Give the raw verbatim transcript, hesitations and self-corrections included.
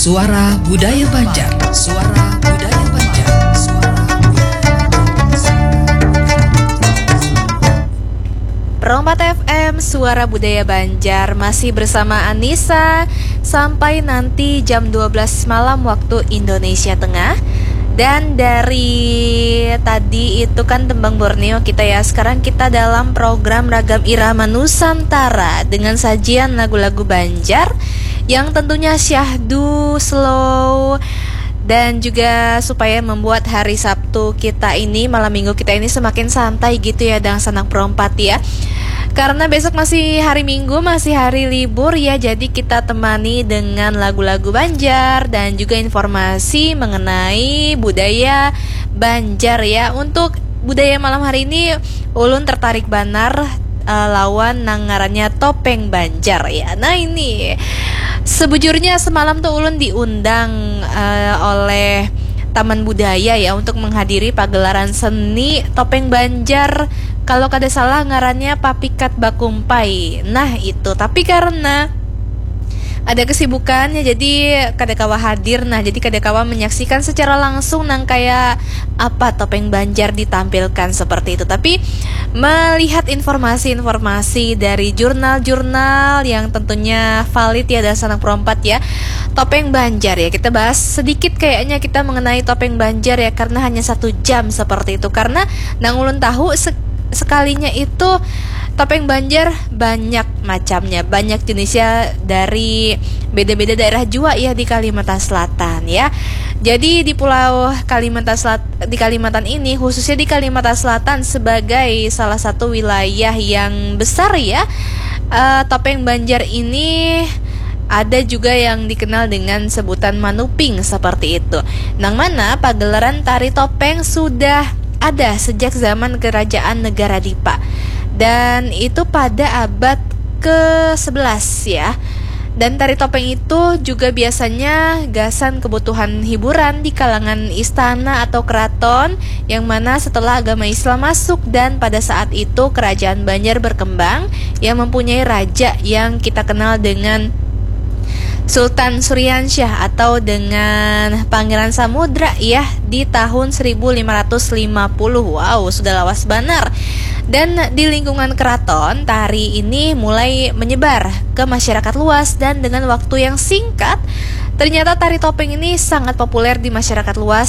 Suara Budaya Banjar. Suara Budaya Banjar. Suara Budaya Banjar. Pro empat F M, Suara Budaya Banjar, masih bersama Anissa sampai nanti jam dua belas malam waktu Indonesia Tengah. Dan dari tadi itu kan tembang Borneo kita ya, sekarang kita dalam program Ragam Irama Nusantara dengan sajian lagu-lagu Banjar yang tentunya syahdu, slow, dan juga supaya membuat hari Sabtu kita ini, malam minggu kita ini semakin santai gitu ya, dangsanak Pro empat ya. Karena besok masih hari Minggu, masih hari libur ya, jadi kita temani dengan lagu-lagu Banjar dan juga informasi mengenai budaya Banjar ya. Untuk budaya malam hari ini, ulun tertarik banar, eh, lawan nang ngarannya topeng Banjar ya. Nah, ini sebujurnya semalam tuh ulun diundang, eh, oleh Taman Budaya ya untuk menghadiri pagelaran seni topeng Banjar. Kalau kada salah ngarannya Papikat Bakumpai. Nah, itu. Tapi karena ada kesibukannya, jadi kada kawa hadir. Nah, jadi kada kawa menyaksikan secara langsung nang kayak apa topeng Banjar ditampilkan seperti itu. Tapi melihat informasi-informasi dari jurnal-jurnal yang tentunya valid ya, dangsanak Pro empat ya, topeng Banjar ya, kita bahas sedikit kayaknya kita mengenai topeng Banjar ya, karena hanya satu jam seperti itu. Karena nang ulun tahu se- sekalinya itu topeng Banjar banyak macamnya, banyak jenisnya, dari beda-beda daerah jua ya di Kalimantan Selatan ya. Jadi di Pulau Kalimantan Selat- di Kalimantan ini, khususnya di Kalimantan Selatan sebagai salah satu wilayah yang besar ya, eh, topeng Banjar ini ada juga yang dikenal dengan sebutan manuping seperti itu. Nang mana pagelaran tari topeng sudah ada sejak zaman Kerajaan Negara Dipa. Dan itu pada abad ke sebelas ya. Dan tari topeng itu juga biasanya gasan kebutuhan hiburan di kalangan istana atau keraton, yang mana setelah agama Islam masuk dan pada saat itu kerajaan Banjar berkembang, yang mempunyai raja yang kita kenal dengan Sultan Suriansyah atau dengan Pangeran Samudra ya, di tahun seribu lima ratus lima puluh. Wow, sudah lawas banar. Dan di lingkungan keraton, tari ini mulai menyebar ke masyarakat luas dan dengan waktu yang singkat, ternyata tari topeng ini sangat populer di masyarakat luas